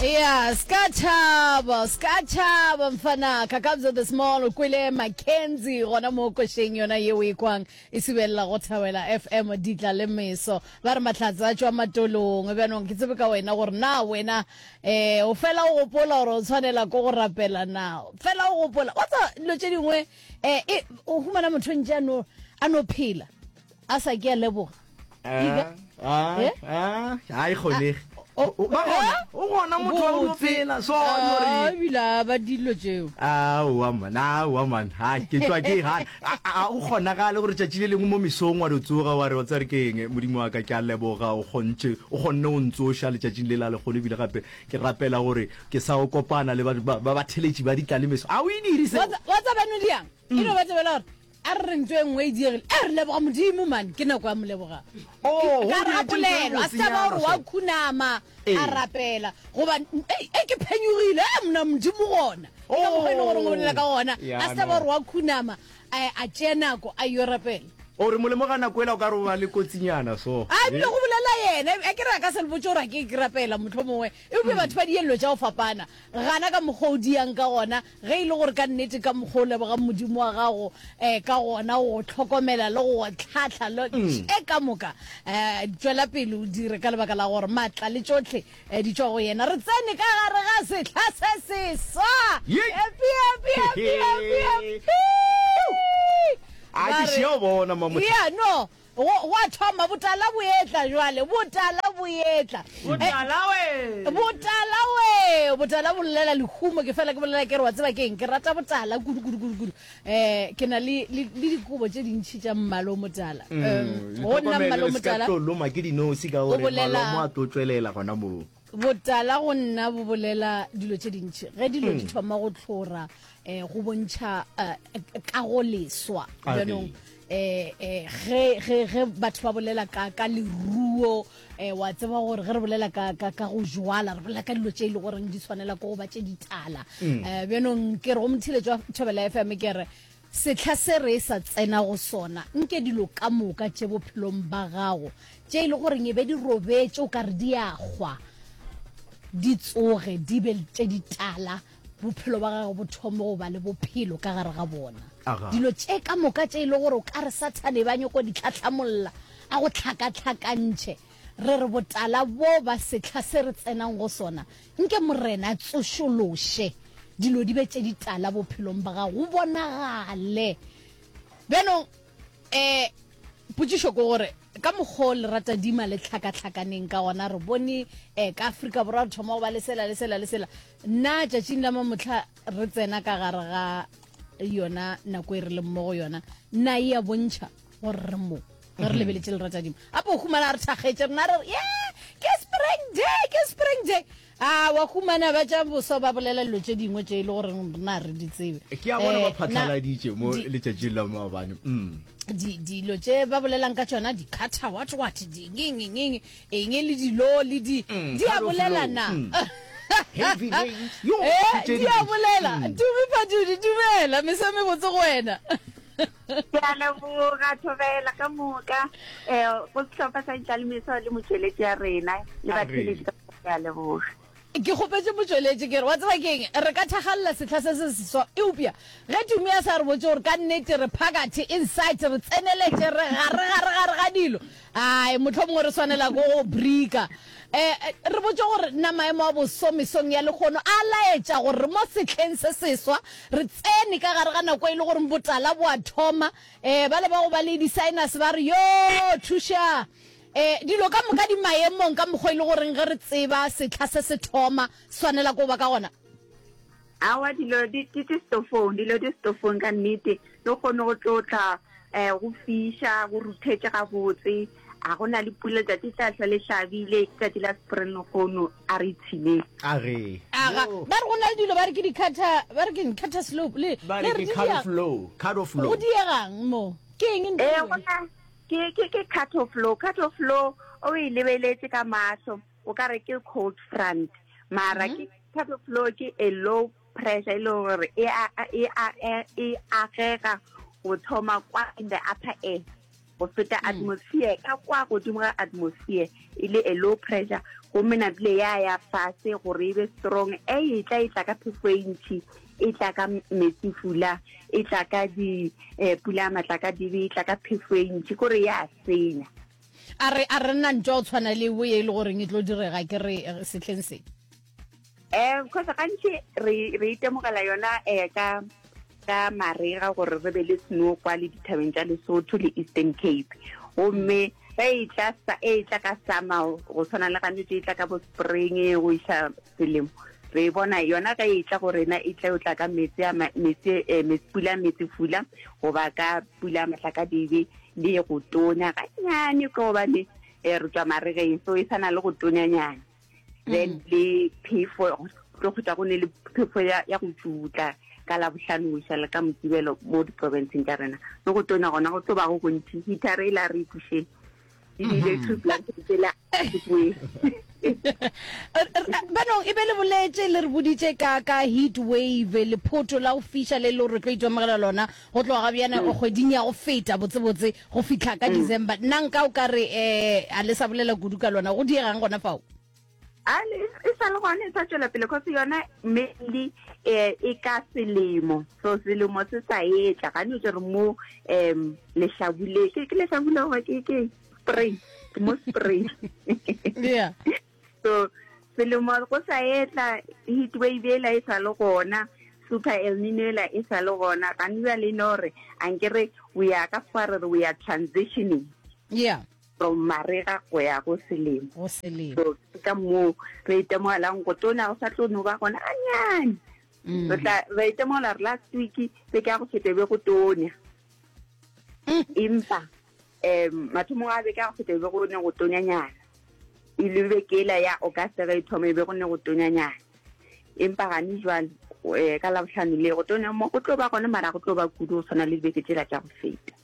Yeah, ska tšhaba, ska tšhaba mfana Kakabza the Small o kwele Mackenzie gona mo košeng yona yeo e kwang e subelela go Thawela FM ditla le meso. Ba re mahlatse a tšwa matolong. Bjanong ke tsebe ka wena gore na wena eh o fela o gopola gore o tshwanela ko go rapela na. Fela o gopola. Wa tseba dilo tše dingwe eh e, o humana motho ntše a no a no phela a sa ke a leboga. Iga. Ah, Eh? ah, ah, e kgonege. O- O ba gona, o gona motho wa go phela so Ah, gore ebile a ba dilo tšeo. Aowa man, aowa man, ha ke tšwa ke ha a a o kgonagale gore tšatši le lengwe mo mesong wa do tsoga wa re wa tsare ke eng modimo wa ka ke a leboga o kgontše o kgonne o ntsoša letšatšing le la lekgono ebile gape ke rapela gore ke sa o kopana le ba ba batheletši ba ditlalemeso a o e dire seo Wa tsa- wa tsa bano diang e no ba tsebela gore A re re ntho e nngwe e diegile. E re leboga Modimo man, ke nako ya moleboga. Oh, Ka go re a diretše ntho e polelo, a se taba gore wa botsenyana so. khunama Ee. a rapela goba ei e ke phenyogile e mna Modimo gona. Ke ka mokgwa e leng gore o bolela ka gona. Ya, A se taba no. gore wa khunama a a tšea nako a yo rapela. O re molemo ga nako ela o ka re o ba le kotsinyana so. A ebile go bolela yena, a ke re a ka se le botše gore a ke ke rapela mohlomongwe. Eupša batho ba dielelo tša go fapana. Gana ka mokgwa o diang ka gona, Ge e le gore ka nnete ka mokgwa o lebogang Modimo wa gago um ka gona go go hlokomela le go go hlahla le tše ka moka, um tšwela pele o dire ka lebaka la gore maatla le tšohle um di tšwa go yena. Re tsene ka gare ga sehla se seswa. Happy, happy, happy, happy, happy. A ke šia o bona Mamohla. Yeah, no. Go, go a thoma, botala bo etla jwale, botala bo etla. Botala we! Botala we! Botala bo llela lehumo, ke fela ke bolela ke re wa tseba keng, ke rata botala kudu kudu kudu kudu. Eh, ke na le, le, le dikobo tše dintši tša mmala o motala. Um, go nna mmala o Le motala. tlo loma ke dinosi ka O gore bolela- malomo a tlo tšwelela gona moo. Botala go nna bo bolela dilo tše dintši. Ge dilo di thoma go tlhora, eh, go bontšha eh, kagoleswa. A re. Bjanong, eh, eh, ge, ge, ge batho ba bolela ka, ka leruo, eh, wa tseba gore ge re bolela ka, ka, ka go jwala, re bolela ka dilo tše e le goreng di tshwanela ke go ba tše ditala. Eh, bjanong ke re go motheeletši wa Thobela FM ke re, Sehla se re sa tsena go sona, nke dilo ka moka tše bophelong ba gago tše e le goreng e be di robetše o ka re di a hwa, di tsoge di be tše ditala, bophelo ba gago bo thome go ba le bophelo ka gare ga bona. Aga. Dilo tše ka moka tše e le gore o ka re Sathane e ba nyoko di tlhahlamolla a go hlakahlakantšhe, re re botala bo ba sehla se re tsenang go sona, Nke Morena a tsošološe dilo di be tše ditala bophelong ba gago, go bonagale. Bjanong, um potšišo ke gore, ka mokgwa o leratadima le hlakahlakaneng ka gona, re bone um ka Afrika Borwa re thoma go ba le sela le sela le sela, na tšatšing la mamohla re tsena ka gare ga yona nako e re leng mo go yona, na e a bontšha gore re mo ge re lebeletše leratadima? Gape o humana re thakgetše rena re re ye ke spring day, ke spring day. A wa humana ba tša boso ba bolela dilo tše dingwe tše e le gore rena re di tsebe. Ke a bona Eh, ba na phatlaladitše mo di- letšatšing la maabane. Mm. di dilo tše ba bolelang ka tšona di-cutter what what dingengengeng eng le dilo le di di a cut off bolela low. na Mm. Heavy rains. Yo, Eh, tše di a dintši. bolela Mm. tumi phatudi dumela meso e mebotse go wena Ke a leboga Thobela ka moka um go sehlopha sa Ditlalemeso le motšweletši ya rena le A re. batheeletši ka moka ke a leboga. Ke kgopetše motšweletši ke re, wa tseba ke'ng, re ka thakgalela sehla se se seswa, eupša ge Tumi a sa re botše gore ka nnete re phakathi, inside, re tseneletše, re gare, gare, gare ga dilo, ai, mohlomongwe re swanela ke go brika. Eh, re botše gore na maemo a boso mesong ya lehono a laetša gore re mo sehleng se seswa, re tsene ka gare ga nako e le gore botala bo a thoma. Eh, bale ba go ba le di-sinus ba re, Yoo, thuša! Eh, dilo ka moka di maemong ka mokgwa e le goreng ge re tseba sehla se se thoma, swanela ko ba ka gona. Aowa, dilo di, di, di setofong, dilo di setofong ka nnete. Le kgone go tlo tla, eh, go fiša, go ruthetše gabotse. A go na le pula, letšatši tla hlwa le hlabile, ke tšatši la spring lehono, a re ipshineng. A re. Aga, ba re go na le dilo ba re ke di-cutter, ba re ke eng, cutter slope, le, Ba le re re ke di cut dia, off low, cut off low. go diegang mo? Ke eng ntho Ee, eo? go na, ke, ke, ke cut off low, cut off low, o e lebeletše ka mahlo, o ka re ke cold front, mara ke cut off low ke a low pressure e le gore e a, e a, e agega go thoma kwa in the upper air. Go feta atmosphere ka kwa godimo ga atmosphere e le a low pressure, gomme napile ya ya fase gore e be strong. E e tla e tla ka phefo e ntši, e tla ka metsifula, e tla ka di eh, pula ya matlakadibe, e tla ka phefo e ntši, kore ya senya. A re a re nna ntwa o tshwana le bo ye e le goreng e tlo direga ke re eh, sehleng se. Eh, because gantši re re itemogela yona eh ka ka marega gore re be le snow kwa le dithabeng tša Lesotho le Eastern Cape. Gomme ge e tla sa e tla ka summer go tshwana le gantši e tla ka bo spring go iša selemo. Re e bona yona ge e tla go rena e tla o tla ka metsi a metsi eh, metsi pula metsi fula goba ka pula matlakadibe le go tonya ganyane ka gobane eh, re tswa maregeng so e sana le go tonyanyana. Then le phefo tlo kgotsa go ne le phefo ya ya go tšutla ka labohlano go iša le ka mokibelo mo diprofenseng tša rena le go tonya gona go tlo ba go gontši heater e la re ikušeng ebile two blanket tsela Banong e be le boletše le re boditše ka ka heat wave lephoto la go fiša le le re tlo itemogela lona go tloga ga bjana kgweding ya go feta botsebotse go fihla ka December. Nna nka o ka re um a le sa bolela kudu ka lona go diegang gona fao? A le e sa le gona e sa tšwela pele cause yona mainly eh e ka selemo so selemo se sa etla ga no re mo um lehlabule ke ke lehlabule goba ke ke spring ke mo spring yeah so selemo go sa etla heat wave ela e sa le gona super el nino ela e sa le gona gane bjale e no re ankere we are ka fa re re we are transitioning yeah from marega go ya go selemo. Go selemo. So ke ka moo re itemogelang go tona go sa tlo no ba gona ganyane. Mm. Re tla re itemogela re last week beke ya go feta be go tonya. Mm. Empa um mathomong a beke ya go feta be go ne go tonyanyana. E le beke ela ya August ge e thoma e be go ne go tonyanyana. Empa gane jwale um ka Labohlano le go tonya mo go tlo ba gona mara go tlo ba kudu go tshwana le dibeke tsela tša go feta.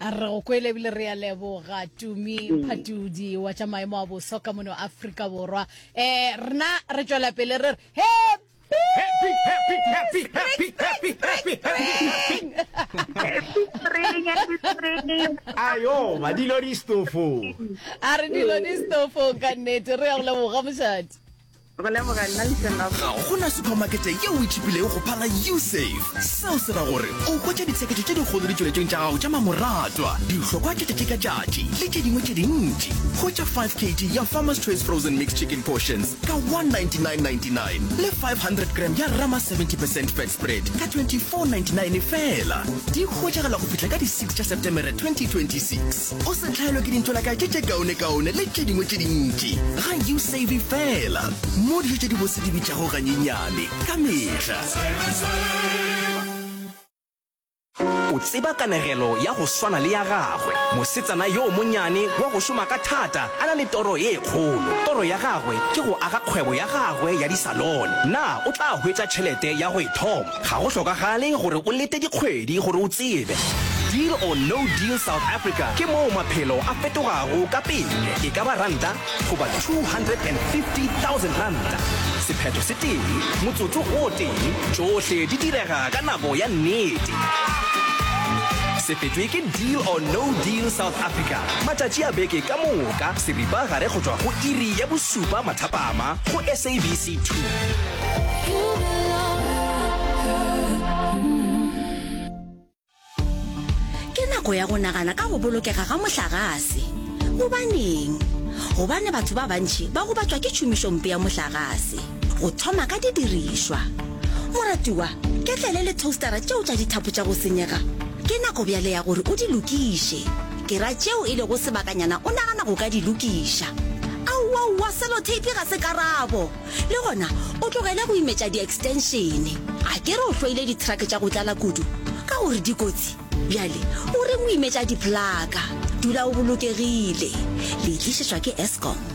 A re go kwele ebile re a leboga Tumi Phatudi wa tša maemo a boso ka mono Afrika Borwa. Eh rena re tšwela pele re re happy Happy, happy, happy, happy, happy, happy, happy. Happy spring, happy spring. Ayo, madilo di stofo. A re dilo di stofong ka nnete re ya go leboga mošadi. Go leboga nna Lešela. Ga go na suphamakete yeo e tšhipilego go phala Usave. Seo se ra gore o hwetša ditsheketšo tše dikgolo ditšweletšong tša gago tša mamoratwa, dihlokwa tša tšatši ka tšatši le tše dingwe tše dintši. Hwetša 5 kg ya Farmer's Choice Frozen Mixed Chicken Portions ka 199.99 le 500 gram ya Rama 70 percent Fat Spread ka 24.99 feela. Di hwetšagala go fihla ka di 6 tša Setemere 2026. O se hlaelwe ke dintšolakae tše tše kaonekaone le tše dingwe tše dintši ga Usave feela, mo dijo tše dibose di bitšago ganyenyane ka mehla. O tseba kanegelo ya go swana le ya gagwe, mosetsana yo monyane wa go šoma ka thata a na le toro ye kgolo. Toro ya gagwe ke go aga kgwebo ya gagwe ya disalone. Na o tla hwetša tšhelete ya go e thoma? Ga go hlokagale gore o lete dikgwedi gore o tsebe. Deal or No Deal South Africa ke moo maphelo a fetogago ka pele, e ka ba ranta goba 250,000 ranta. Sephetho se tee, motsotso o tee, tšohle di direga ka nako ya nnete. Se fetšwe ke Deal or No Deal South Africa matšatši a beke ka moka seripa gare go tšwa go iri ya bosupa mathapama go SABC 2. Ke nako ya go nagana ka go bolokega ga mohlagase. Gobaneng? Gobane batho ba bantši ba gobatšwa ke tšhomišompe ya mohlagase, go thoma ka didirišwa. Moratiwa, ketlele le toastara tšeo tša dithapo tša go senyega, ke nako bjale ya gore o di lokiše. Ke ra tšeo e lego sebakanyana o nagana go ka di lokiša. Aowaowa, seloteipi ga se karabo! Le gona o tlogele go imetša di-extension. A ke re o hloile di-truck tša go tlala kudu ka gore di kotsi? Bjale o reng o imetša di-plaka? Dula o bolokegile. Le tlišetšwa ke Eskom.